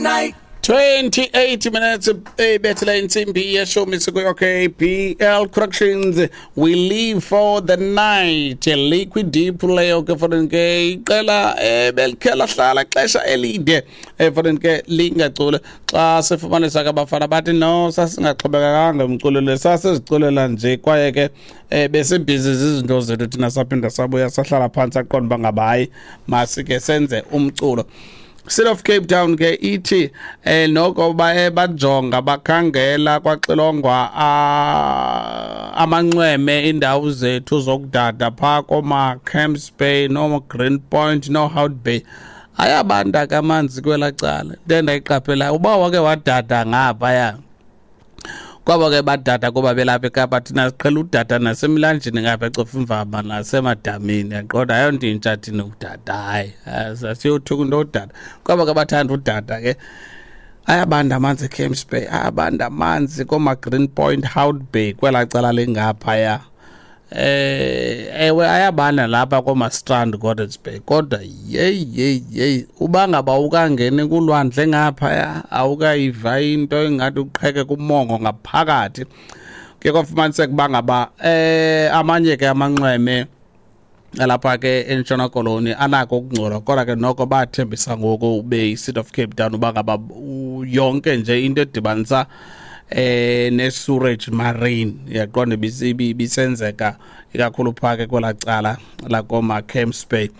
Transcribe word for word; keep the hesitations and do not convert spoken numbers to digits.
Night. twenty-eight minutes ebethela insimbi yeshumi siku-okay B L Corrections, "We Live for the Night", Liquid Deep leyo ke fanele ke iqela ebelikhe lahlala xesha elide efanele ke lingacule. Xa sifumanisa ke abafana bathi no, sasingaxhobekekanga emculweni, sasiziculela nje kwaye ke eh, besibhizi zizinto zethu thina. Saphinda sabuya sahlala phantsi, aqonda uba ngaba hayi, masike senze umculo. City of Cape Town ke ithi eh noko baye bajonga, bakhangela, kwaxilongwa amanxweme, indawo zethu zokudada phaa koma Camps Bay no Green Point no Hout Bay, ayabanda ke amanzi kwelaa cala. Into endayiqaphelayo, uba wake wadada ngaphaya kwabo ke badada kuba belapha eKapa, thina siqhela udada nasemilanjeni ngapha eCofimvaba nasemadamini, yaqonda, ayonto intsha thina ukudada. Hayi, asiyothuka into odada. Kwabo ke bathanda udada ke, ayabanda amanzi eCamps Bay, ayabanda amanzi kooma-Green Point, Hout Bay, kwelaa cala lingaphaya. eh ewe ayabanda lapha kooma-Strand, Gordons Bay, kodwa yeyi yeyi yeyi, uba ngaba ukangeni kulwandle ngaphaya, awukayiva into engathi uqheke kumongo ngaphakathi. Ke kwafumaniseka uba ngaba eh amanye ke amanxweme alapha ke eNtshona Koloni anako ukungcola, kodwa ke noko bathembisa ngoku ube yi-City of Cape Town uba ngaba yonke nje into edibanisa eh ne-sewerage marine, yaqonda, ibisenzeka ikakhulu phaa ke kwelaa cala lakoma Camps Bay.